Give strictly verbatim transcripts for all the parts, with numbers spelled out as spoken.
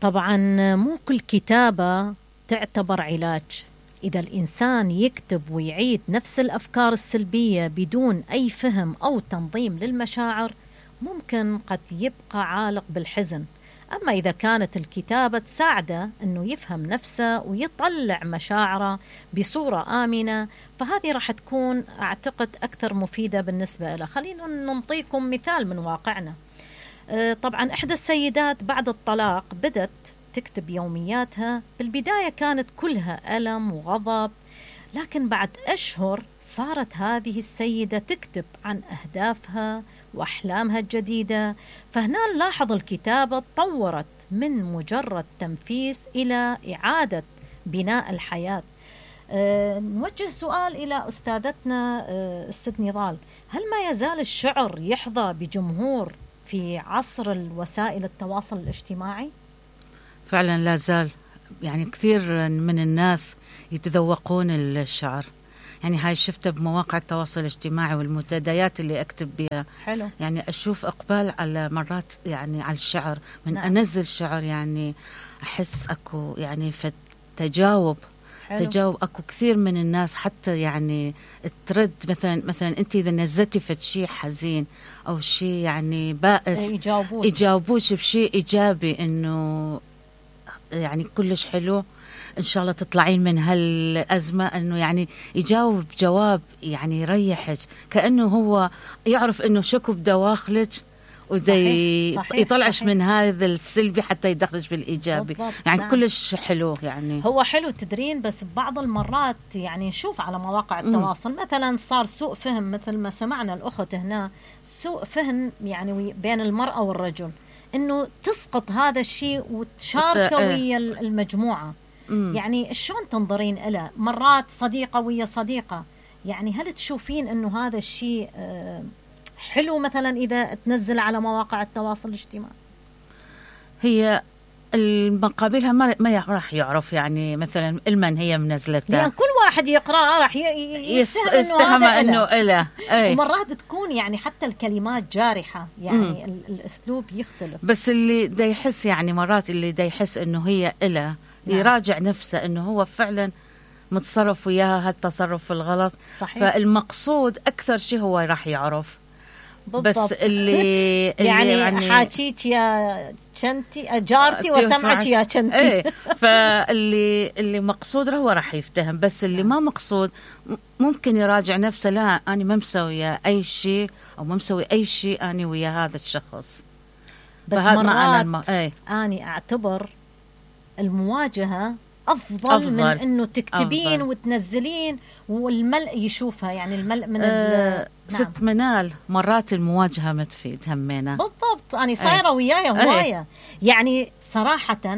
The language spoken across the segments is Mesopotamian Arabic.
طبعا مو كل كتابة تعتبر علاج. إذا الإنسان يكتب ويعيد نفس الأفكار السلبية بدون أي فهم أو تنظيم للمشاعر ممكن قد يبقى عالق بالحزن. أما إذا كانت الكتابة تساعده أنه يفهم نفسه ويطلع مشاعره بصورة آمنة، فهذه راح تكون أعتقد أكثر مفيدة بالنسبة له. خلينا نعطيكم مثال من واقعنا. طبعا إحدى السيدات بعد الطلاق بدت تكتب يومياتها. بالبداية كانت كلها ألم وغضب، لكن بعد أشهر صارت هذه السيدة تكتب عن أهدافها وأحلامها الجديدة. فهنا نلاحظ الكتابة تطورت من مجرد تنفيس إلى إعادة بناء الحياة. أه نوجه سؤال إلى أستاذتنا أه الست نضال، هل ما يزال الشعر يحظى بجمهور في عصر الوسائل التواصل الاجتماعي؟ فعلا لا زال، يعني كثير من الناس يتذوقون الشعر. يعني هاي شفتها بمواقع التواصل الاجتماعي والمنتديات اللي أكتب بها. حلو. يعني أشوف إقبال على مرات يعني على الشعر من نعم. أنزل شعر، يعني أحس أكو يعني تجاوب حلو. تجاوب أكو كثير من الناس حتى يعني ترد. مثلا مثلا أنت إذا نزلتي فد شيء حزين أو شيء يعني بائس يجاوبوك يجاوبوش بشيء إيجابي، إنه يعني كلش حلو، إن شاء الله تطلعين من هالأزمة. إنه يعني يجاوب جواب يعني يريحك، كأنه هو يعرف إنه شكو بدواخلك وزي يطلعش صحيح. من هذا السلبي حتى يدخلش بالإيجابي. بالضبط. يعني نعم. كلش حلو. يعني هو حلو تدرين، بس بعض المرات يعني نشوف على مواقع التواصل م. مثلا صار سوء فهم، مثل ما سمعنا الأخت هنا، سوء فهم يعني بين المرأة والرجل، إنه تسقط هذا الشيء وتشاركه ويا المجموعة. مم. يعني شلون تنظرين إلى مرات صديقة ويا صديقة؟ يعني هل تشوفين إنه هذا الشيء حلو مثلا إذا تنزل على مواقع التواصل الاجتماعي؟ هي المقابلها ما ما راح يعرف يعني مثلا المن هي منزلتها، يعني كل واحد يقرأ راح يفتهم إنه إله. ومرات تكون يعني حتى الكلمات جارحة، يعني مم. الأسلوب يختلف. بس اللي دا يحس يعني مرات اللي دا يحس إنه هي إله نعم. يراجع نفسه إنه هو فعلا متصرف وياها هالتصرف الغلط. صحيح. فالمقصود أكثر شيء هو راح يعرف. بالضبط. بس اللي, اللي يعني, يعني حاكيك يا شنتي جارتي وسمعك يا شنتي. ايه فاللي اللي مقصود هو راح يفتهم، بس اللي ما مقصود ممكن يراجع نفسه، لا أنا ما مسوي أي شيء أو ما مسوي أي شيء أنا ويا هذا الشخص. بس مرات الم... ايه. أنا أعتبر المواجهة أفضل, أفضل من إنه تكتبين أفضل. وتنزلين والملء يشوفها، يعني الملء من أه ست نعم. منال مرات المواجهة ما تفيد همينا. بالضبط. أنا صايرة أيه. وياي هواية أيه. يعني صراحة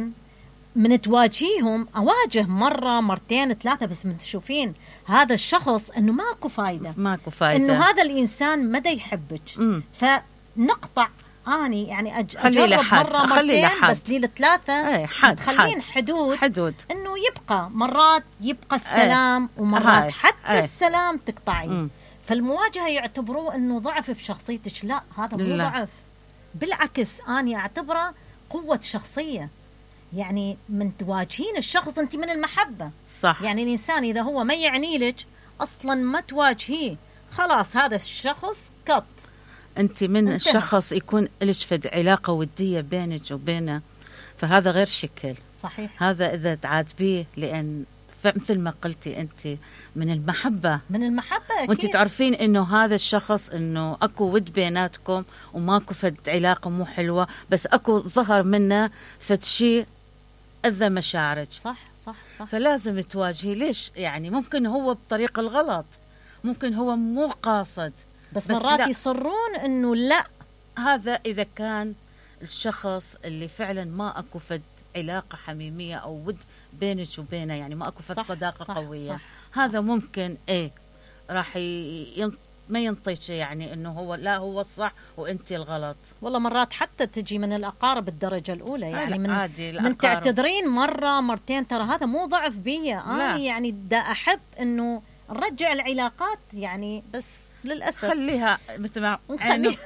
من تواجهيهم أواجه مرة مرتين ثلاثة، بس من تشوفين هذا الشخص إنه ماكو فايدة ماكو فايدة، إنه هذا الإنسان مدى يحبك، فنقطع. أني يعني أج... أجرب مرة مرتين بس لي الثلاثة تخلين حدود حدود إنه يبقى مرات يبقى السلام ايه. ومرات حتى ايه. السلام تقطعين. فالمواجهة يعتبروه إنه ضعف في شخصيتك. لا، هذا مو ضعف، بالعكس أنا أعتبره قوة شخصية. يعني من تواجهين الشخص أنت من المحبة. صح. يعني الإنسان إذا هو ما يعني لك أصلا ما تواجهيه، خلاص هذا الشخص قط. أنت من انتهى. الشخص يكون لك فد علاقة ودية بينك وبينه، فهذا غير شكل. صحيح. هذا إذا تعاتبيه، لأن مثل ما قلتي أنت من المحبة من المحبة أكيد. وأنت تعرفين إنه هذا الشخص إنه أكو ود بيناتكم وماكو فد علاقة مو حلوة، بس أكو ظهر منه فد شيء أذى مشاعرك. صح صح صح. فلازم تواجهي. ليش؟ يعني ممكن هو بطريقة الغلط، ممكن هو مو قاصد، بس, بس مرات لا. يصرون إنه لا. هذا إذا كان الشخص اللي فعلا ما أكو فد علاقة حميمية أو ود بينك وبينه، يعني ما أكو فد صح صداقة صح قوية. صح هذا صح. ممكن إيه راح ين... ما ينطيش يعني إنه هو لا هو الصح وأنت الغلط. والله مرات حتى تجي من الأقارب الدرجة الأولى، يعني من عادي من تعتذرين مرة مرتين، ترى هذا مو ضعف بيا أنا، يعني دا أحب إنه نرجع العلاقات يعني. بس للأسف خليها مثل ما نخلي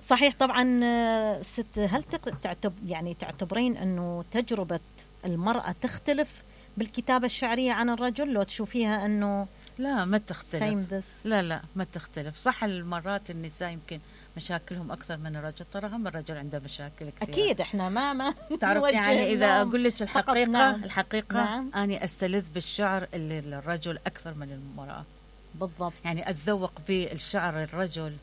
صحيح. طبعا آه، ست، هل تق- تعتب يعني تعتبرين أنه تجربة المرأة تختلف بالكتابة الشعرية عن الرجل، لو تشوفيها أنه لا ما تختلف. same this؟ لا لا ما تختلف. صح المرات النساء يمكن مشاكلهم أكثر من الرجل، ترى هم الرجل عنده مشاكل كثير. أكيد إحنا ما ما تعرف نوجه يعني إذا لهم أقول لك فقط. الحقيقة نعم. الحقيقة نعم. أنا أستلذ بالشعر اللي للرجل أكثر من المرأة. بالضبط. يعني أتذوق بالشعر الرجل،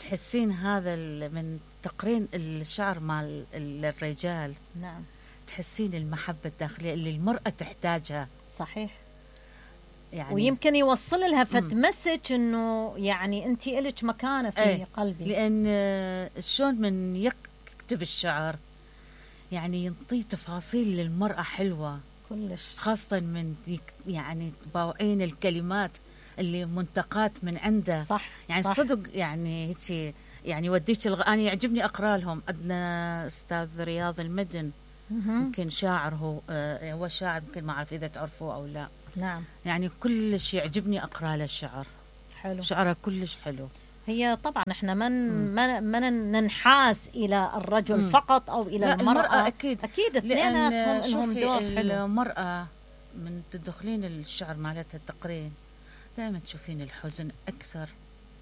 تحسين هذا ال- من تقرين الشعر مع ال- الرجال، نعم تحسين المحبة الداخلية اللي المرأة تحتاجها. صحيح. يعني ويمكن يوصل لها فت مسج انه يعني انت الك مكانه في ايه قلبي. لان آه، شلون من يكتب الشعر يعني ينطي تفاصيل للمرأة حلوة كلش. خاصة من يك- يعني باوعين الكلمات اللي منتقات من عنده. صح. يعني صح. صدق يعني هيك يعني وديك الغ... انا يعجبني اقرا لهم. عندنا استاذ رياض المدن، مهم. يمكن شاعر هو آه هو شاعر، يمكن ما اعرف اذا تعرفوه او لا. نعم. يعني كلش يعجبني اقرا له الشعر. حلو. شعره كلش حلو. هي طبعا احنا من ما ما ننحاز الى الرجل مم. فقط او الى لا المرأة. المرأة اكيد اكيد لان اثنيناتهم لهم شوفي دور حلو. المرأة من تدخلين الشعر مالتها التقرين دائما تشوفين الحزن اكثر.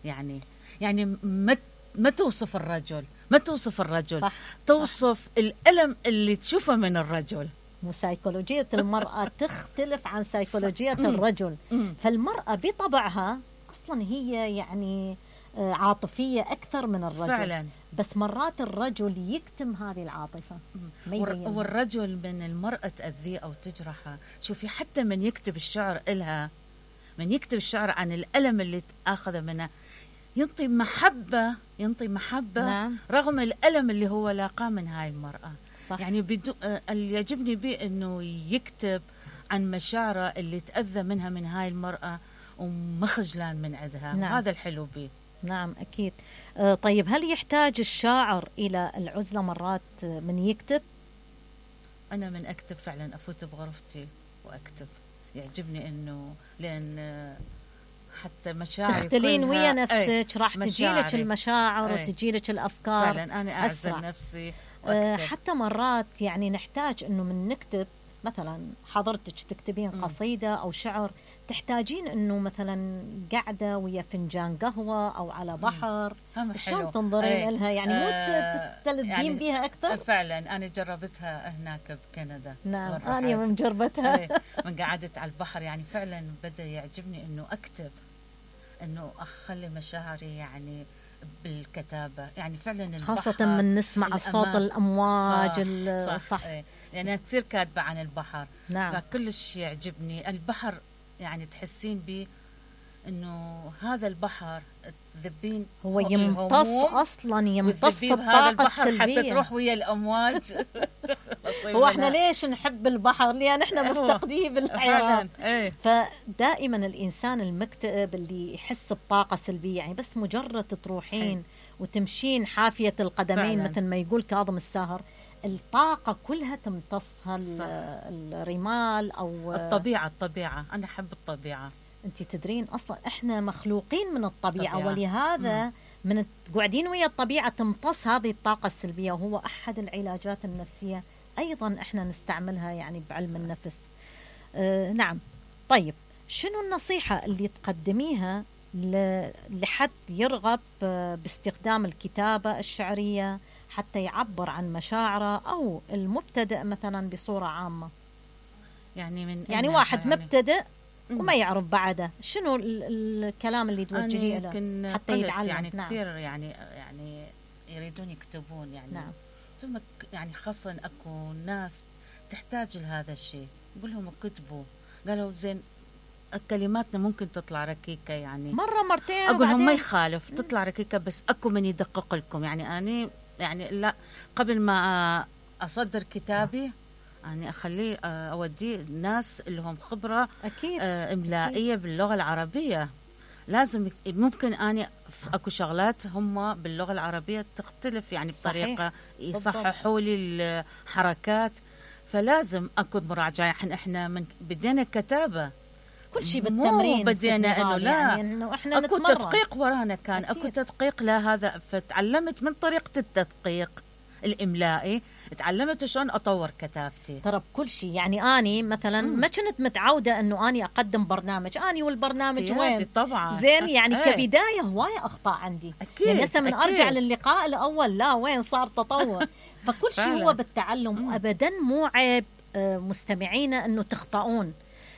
يعني يعني ما ما توصف الرجل، ما توصف الرجل صح. توصف صح. الألم اللي تشوفه من الرجل. وسيكولوجية المرأة تختلف عن سيكولوجية مم. الرجل. مم. فالمرأة بطبعها أصلا هي يعني آه، عاطفية أكثر من الرجل فعلا. بس مرات الرجل يكتم هذه العاطفة. ما والر- يبينها. والرجل من المرأة تأذيه أو تجرحه. شوفي حتى من يكتب الشعر إلها، من يكتب الشعر عن الألم اللي أخذه منه، ينطي محبة، ينطي محبة نعم. رغم الألم اللي هو لاقاه من هاي المرأة. صح. يعني بدو آه، اللي يعجبني به إنه يكتب عن مشاعره اللي تأذى منها من هاي المرأة ومخجلان من عندها. نعم. هذا الحلو به. نعم أكيد. آه، طيب هل يحتاج الشاعر إلى العزلة مرات آه، من يكتب؟ أنا من أكتب فعلا أفوت بغرفتي وأكتب. يعجبني إنه لأن آه، حتى مشاعري تختلين كلها- ويا أي، نفسك، راح تجيلك مشاعري. المشاعر أي. وتجيلك الأفكار. فعلا أنا أعزل أسرع. نفسي آه، وأكتب. حتى مرات يعني نحتاج انه من نكتب، مثلا حضرتك تكتبين مم. قصيدة او شعر، تحتاجين انه مثلا قاعدة ويا فنجان قهوة او على بحر. هم حلو. شلون تنظرين أي. لها يعني مو آه، تستلذين يعني بها اكثر؟ فعلا أنا جربتها هناك بكندا. نعم مرة انا حد. مجربتها. أي، من قعدت على البحر يعني فعلا بدأ يعجبني إنه أكتب، إنه أخلي مشاعري يعني بالكتابة. يعني فعلا البحر خاصة من نسمع الصوت الأمان. الامواج صح, ال- صح, صح. إيه. يعني أنا كثير كاتبة عن البحر. نعم. فكلش يعجبني البحر. يعني تحسين بي انه هذا البحر تذبين هو الهموم يمتص اصلا يمتص وتذبيه بهذا الطاقة البحر حتى السلبية. تروح ويا الامواج. هو احنا ليش نحب البحر؟ لان احنا مفتقديه بالحياة. فعلا. ايه. فدائما الانسان المكتئب اللي يحس بطاقه سلبيه، يعني بس مجرد تروحين وتمشين حافيه القدمين فعلاً. مثل ما يقول كاظم الساهر، الطاقه كلها تمتصها صح. ال- الرمال او الطبيعة الطبيعة أنا أحب الطبيعة. انت تدرين اصلا احنا مخلوقين من الطبيعه، طبيعة. ولهذا مم. من قاعدين ويا الطبيعه تمتص هذه الطاقه السلبيه، وهو احد العلاجات النفسيه ايضا احنا نستعملها يعني بعلم النفس. آه نعم. طيب شنو النصيحه اللي تقدميها ل- لحد يرغب آه، باستخدام الكتابه الشعريه حتى يعبر عن مشاعره، او المبتدئ مثلا بصوره عامه؟ يعني من يعني أين واحد يعني مبتدئ مم. وما يعرف بعده، شنو ال- الكلام اللي توجهيه أنا له يمكن حتى قلت يتعلم؟ يعني نعم. كثير يعني يعني يريدون يكتبون يعني. نعم. ثم ك- يعني خاصة اكو ناس تحتاج لهذا الشيء، قول لهم اكتبوا. قالوا زين كلماتنا ممكن تطلع ركيكة يعني. مرة مرتين اقول لهم ما وبعدين- يخالف تطلع ركيكة، بس اكو من يدقق لكم. يعني اني يعني لا قبل ما اصدر كتابي يعني اخليه اوديه ناس اللي هم خبرة أكيد. آه، إملائية باللغة العربية. لازم يك- ممكن أنا ف- أكو شغلات هم باللغة العربية تختلف يعني بطريقة يصححوا لي الحركات، فلازم أكو مراجعة. إحنا إحنا من بدينا كتابة كل شيء بالتمرين. مو بدينا انه لا، يعني انه احنا اكو نتمرن. تدقيق ورانا كان أكيد. اكو تدقيق لهذا، فتعلمت من طريقة التدقيق الاملائي، تعلمت شلون اطور كتابتي. ترى بكل شيء، يعني اني مثلا مم. ما كنت متعوده انه اني اقدم برنامج، اني والبرنامج وين طبعا زين، يعني ايه. كبدايه هوايه اخطاء عندي. أكيد. يعني هسه من أكيد. ارجع للقاء الاول لا وين صار تطور. فكل شيء فعلا. هو بالتعلم. مم. وابدا مو عيب آه، مستمعينا انه تخطئون،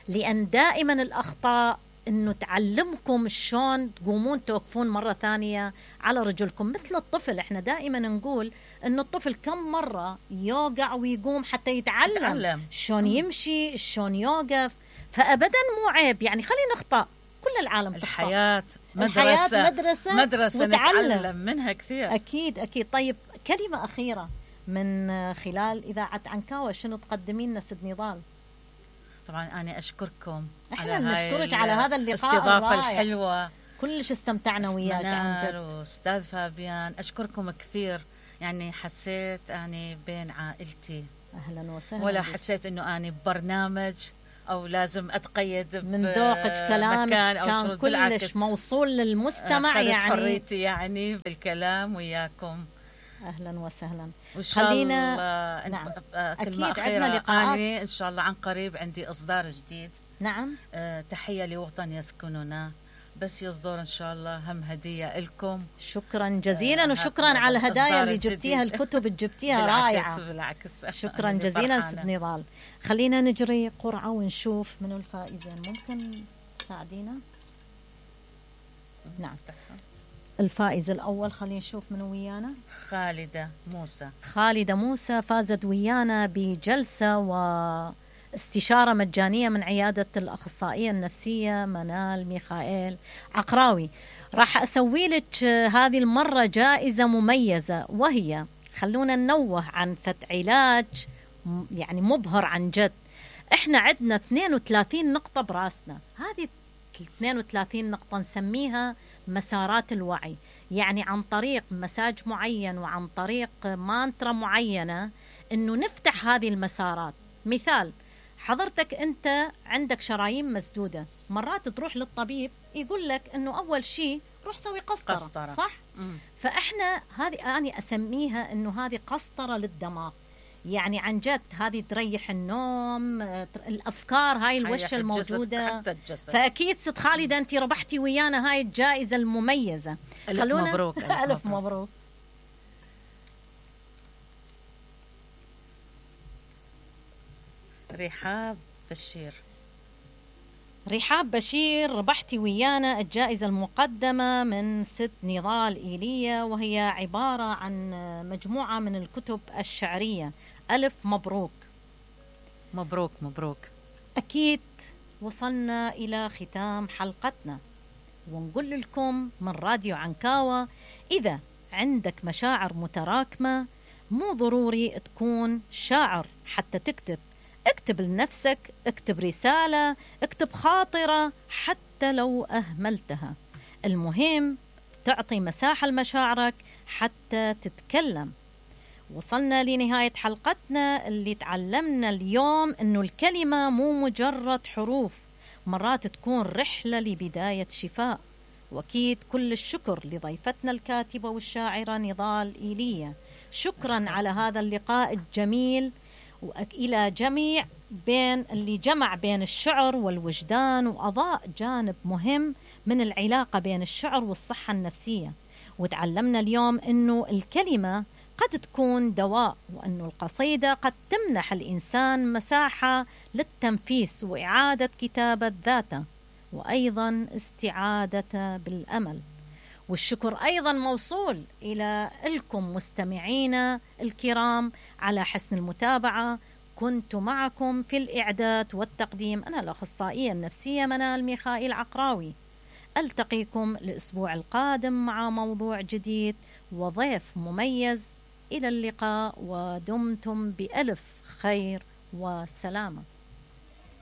لان دائما الاخطاء انه تعلمكم شلون تقومون توقفون مره ثانيه على رجلكم. مثل الطفل، احنا دائما نقول انه الطفل كم مره يوقع ويقوم حتى يتعلم, يتعلم. شلون يمشي، شلون يوقف. فابدا مو عيب، يعني خلينا نخطأ، كل العالم تخطأ. الحياة مدرسة، الحياة مدرسة, مدرسة وتعلم. نتعلم منها كثير. اكيد اكيد. طيب كلمه اخيره من خلال اذاعه عنكاوة، شنو تقدمين لنا ست نضال؟ طبعا أنا أشكركم احنا على نشكرك على هذا اللقاء الاستضافة الرائع. الحلوة. كلش استمتعنا وياك عن جد. وأستاذ فابيان، أشكركم كثير. يعني حسيت أني بين عائلتي، اهلا وسهلا ولا بك. حسيت أنه أني ببرنامج أو لازم أتقيد من ذوقك كلامك كان كلش موصول للمستمع. يعني حريتي يعني بالكلام وياكم. اهلا وسهلا. وان شاء خلينا الله نعم. كلمة أكيد أخيرة، عندنا لقاءات. أنا إن شاء الله عن قريب عندي إصدار جديد. نعم. أه تحية لوطن يسكننا، بس يصدر إن شاء الله هم هدية لكم. شكرا جزيلا. آه وشكرا على الهدايا اللي الجديد. جبتيها، الكتب اللي جبتيها بالعكس رائعة. بالعكس. شكرا جزيلا ست نضال. خلينا نجري قرعة ونشوف منو الفائزين. ممكن تساعدينا؟ نعم. الفائز الأول خلينا نشوف منو ويانا. خالدة موسى. خالدة موسى فازت ويانا بجلسة واستشارة مجانية من عيادة الأخصائية النفسية منال ميخائيل عقراوي. راح أسوي لك هذه المرة جائزة مميزة، وهي خلونا ننوه عن فت علاج يعني مبهر عن جد. احنا عندنا اثنين وثلاثين نقطة براسنا، هذه اثنين وثلاثين نقطة نسميها مسارات الوعي. يعني عن طريق مساج معين وعن طريق مانترا معينة انه نفتح هذه المسارات. مثال، حضرتك انت عندك شرايين مسدودة، مرات تروح للطبيب يقول لك انه اول شيء روح سوي قسطرة, قسطرة. صح؟ مم. فاحنا هذه انا اسميها انه هذه قسطرة للدماغ. يعني عن جد هذه تريح النوم، الافكار هاي الوشة الموجودة. فاكيد ست خالدة انت ربحتي ويانا هاي الجائزة المميزة. الف مبروك. الف مبروك. رحاب بشير. رحاب بشير، ربحتي ويانا الجائزة المقدمة من ست نضال إيليا، وهي عبارة عن مجموعة من الكتب الشعرية. ألف مبروك. مبروك مبروك. أكيد وصلنا إلى ختام حلقتنا، ونقول لكم من راديو عنكاوة، إذا عندك مشاعر متراكمة مو ضروري تكون شاعر حتى تكتب. اكتب لنفسك، اكتب رسالة، اكتب خاطرة حتى لو أهملتها. المهم تعطي مساحة لمشاعرك حتى تتكلم. وصلنا لنهاية حلقتنا اللي تعلمنا اليوم إنه الكلمة مو مجرد حروف، مرات تكون رحلة لبداية شفاء. وأكيد كل الشكر لضيفتنا الكاتبة والشاعرة نضال إيليا. شكرا على هذا اللقاء الجميل، وإلى جميع بين اللي جمع بين الشعر والوجدان وأضاء جانب مهم من العلاقة بين الشعر والصحة النفسية. وتعلمنا اليوم إنه الكلمة قد تكون دواء، وأنه القصيدة قد تمنح الإنسان مساحة للتنفيس وإعادة كتابة ذاته، وأيضا استعادة بالأمل. والشكر أيضا موصول إلى لكم مستمعينا الكرام على حسن المتابعة. كنت معكم في الإعداد والتقديم أنا الأخصائية النفسية منال ميخائيل عقراوي. ألتقيكم الأسبوع القادم مع موضوع جديد وضيف مميز. إلى اللقاء، ودمتم بألف خير وسلامة.